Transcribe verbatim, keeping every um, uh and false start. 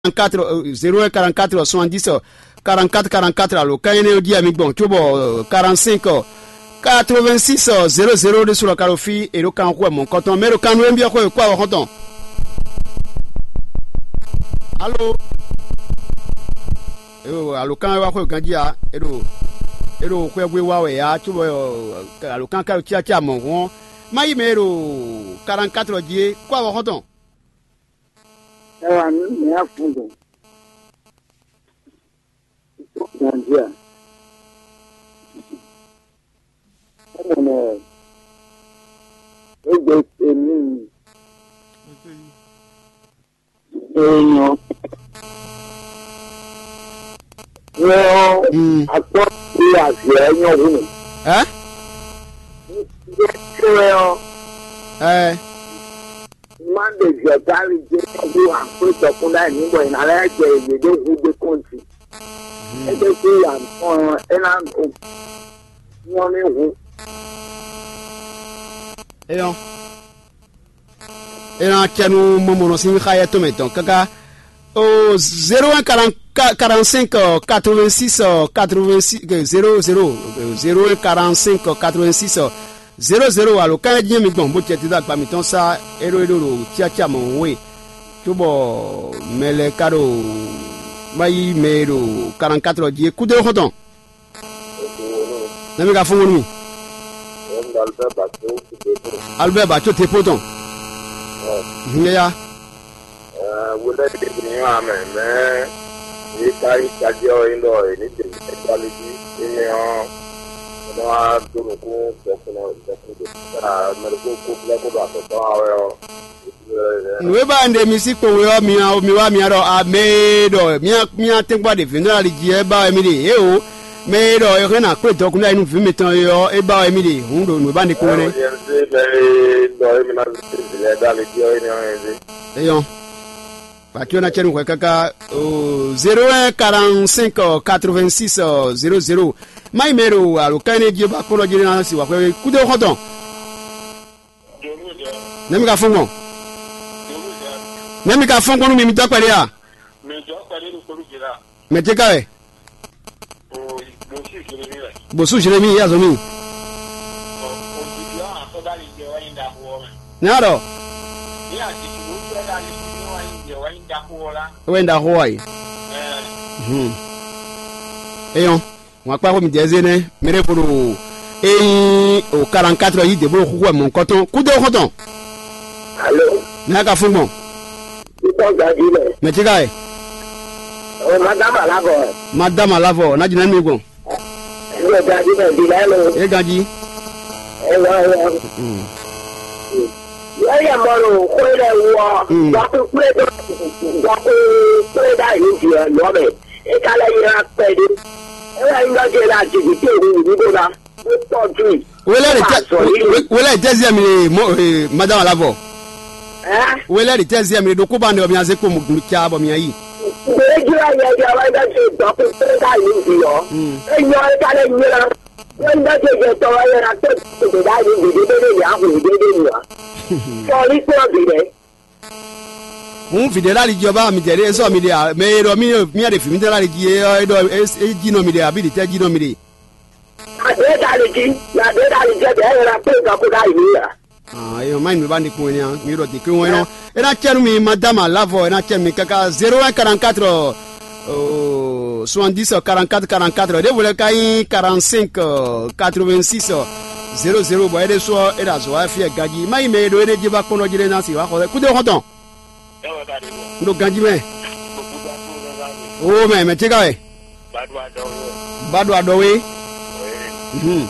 quarante-quatre, euh, zéro un quarante-quatre soixante-dix, euh, quarante-quatre quarante-quatre alo kan énɛ́ ɔ́ jí wɛ mi gbɔn cóbɔ, euh, quarante-cinq, euh, quatre-vingt-six, euh, zéro zéro ɖésú lɔ ka ɖo fí, è ɖo kan xo wɛ mɔ̌hunkɔtɔn mɛ ɖo kan nú émí ɔ́ xwe kó awɔ xɔ́ntɔn. Alo, alo kan wá xwe ganjí a? È ɖo, è ɖo xwɛgbe wa wɛ ya cóbɔ, euh, alo kan ka ɖo cyácá mɔ̌hun ɔ́, má yí mɛ e ɖo quarante-quatre jí é kó awɔ xɔ́ntɔn. Ẹ wà nú mǐ afúnzɔn. Nàìjíríà. Ọmọ náà, ó gbé èmi èèyàn. Wọ́n Mm. Akpọ́ pé àzì ẹ̀ nyɔ́ hú mi. Ẹ́? Ṣé ẹ ọ́? Ẹ́. Má ɖe zɛ̌gáli jɛ ɔ́ ɖó akwédɔkún ɖ'ayǐ ní bɔ è nǎ lɛ́ jɛ yě ɖó hú ɖé kɔn jí. É ɖésú ya nɔ é ná nyɔ́ ní hu. Eyɔn. É ná cɛ nú mɔmɔnɔ sín xáyɛ́ tɔn mɛ tɔn káká. O zéro un quarante-cinq quatre-vingt-six quatre-vingt-six zéro zéro, zéro un quarante-cinq quatre-vingt-six zéro zéro alo kan jí mi gbɔn bó cɛ dídá agba mǐtɔn sá é ɖó é ɖó ɖo cyácá mɔ̌ we, cóbɔ mɛ lɛ́ɛ ka ɖo má yí mɛ e ɖo quarante-quatre jí é kúdó xɔ́ntɔn. Nɛ́ mi ka fɔ́n nú mì? Albert Baco Tepo tɔn. Hǔn yáyá. Wulɛ ɖe ní wá mɛ mɛ yě ká yí tají ɔ́ é ɖɔ è ní ɖe mɛ kpali jí énɛ́ ɔ́, é nɔ wá dó nukún dɔkun dɔkun ɖe mɛ ɖokpó kó blɛ́ kó ɖo azɔ̌ tɔn wá wɛ ɔ́. Nǔ e ba un ɖe mi sí kpowun ɔ́, mi mi wá mi ɖɔ a mɛ e ɖɔ mía mía tɛ́nkpɔ́ ɖe vǐnɔ ali jí ɛ ba wɛ mi ɖe ě o. Mɛ e ɖɔ è hɛn ná kplé dɔkun ɖ'ayǐ nú vǐ mitɔn é ɔ́, é ba wɛ mi ɖe hǔn ɖo nǔ e ba un ɖe kpowun nɛ́. Mɛ e ɖɔ émi ná zé vǐ lɛ́ɛ dó ali jí ɔ́, é nɛ́ ɔ́ é zé. Eyɔn. Bàtí ɔ́ ná cɛ nú hwɛ káká o zéro un quarante-cinq quatre-vingt-six zéro zéro. Má yi mɛ ɖo alo ká énɛ́ jí ba kpɔ́n jí ná si wǎ xwɛ kúdó xɔ́ntɔn. Nɛ́ mi ka fɔ́n gbɔn? Nɛ́ mi ka fɔ́n gbɔn nú mi mi dɔ́ kpɛɖé a? Mɛ jɔ kpɛɖé ɖo kpolu jɛ la. Mɛ tɛ ka wɛ? O, Mɔsi Jeremi wɛ. Bosu Jeremi ya zɔn mi. O, o ti di ɔn, akɔba li jɛ wɛ yin da ko wɛ. N'a ɖɔ. Ni a ti tu ko fɛ da li ni wɛ yin jɛ wɛ yin da ko wɛ la. Wɛ yin da ko wɛ. Ɛɛ. Hmm. Eyɔn. Wọn akpa xɔ mi dɛ zé nɛ. Mɛ ɖe fo ɖo. Eyin o quarante-quatre yi de bolo xuxu wɛ mɔnkɔtɔn. Kudo xɔtɔn. Alo. N'a ka fún gbɔn. Ikɔ gadi lɛ. Mɛ ti ka yi. O madama la bɔ. Madama la vɔ n'a jina mi gbɔn. Ikɔ gadi lɛ di lɛ lo. E ganji. E lɔ e lɔ. Wọ́n yẹ mọ́ lò kó lẹ̀ wọ́. Gbọ́kú kplé dó gbọ́kú kplé dá yìí di ẹ̀ lọ́ mẹ́. E ka lɛ ylá kpɛɖé. E wɛ nyí ɖɔ jɛ la jiji te hu wǔ ɖó ná. Wé tɔjú i. Wele de tɛ wele de ziɛ mi le mo eh, madame la vɔ. Ɛ. Wele de tɛ ziɛ mi le ɖokó ba ne ɔmia ze kpo mu ca bɔ mia yi. Gbèdéjì wa yɛ di awa ɖɔ jɛ dɔkú pé ká yìí di ɔ. Enyɔ e ka lɛ nyina. Wọ́n ɖɔ jẹ jẹ tɔ wa yɛ na tó gbèdé dá yìí di dé dé ní ahu dé dé ní wa. Sɔli kpɔ bi dɛ. Hǔn vǐ ɖé ɖo ali jí ɔ́ ba mi jɛ ɖe sɔ mi ɖe ǎ. Mɛ e ɖɔ mì mì ɖe vǐ mitɔn ɖo ali jí é ɔ́, é ɖɔ é jí nɔ mi ɖe abǐ ɖi tɛ́ jí nɔ mi ɖe. Adé dali jí, adé dali jẹ bɛ ẹ yẹra pé nǹkan kó dá yìí nìyà. Ah, é má nyí mi ba ní kún ẹni ǎ, mi ɖɔ dèké wọn é nɔ. É ná cɛ nú mi madama lavɔ, é ná cɛ nú mi káká zéro un quarante-quatre soixante-dix quarante-quatre quarante-quatre ɖěvo lɛ́ɛ ka nyí quarante-cinq quatre-vingt-six zéro zéro bɔ é ɖésú ɔ́ é ɖo azɔ̌ wa fí ɛ ganjí. Má nyí mɛ e ɖo énɛ́ jí ba kpɔ́n jí ɖé ná si wá xɔ kúdó xɔ́ntɔn. N ɖo ganjí mɛ. Ó mɛ mɛ tí ka wɛ. Ba ɖo aɖɔwe. Mhm.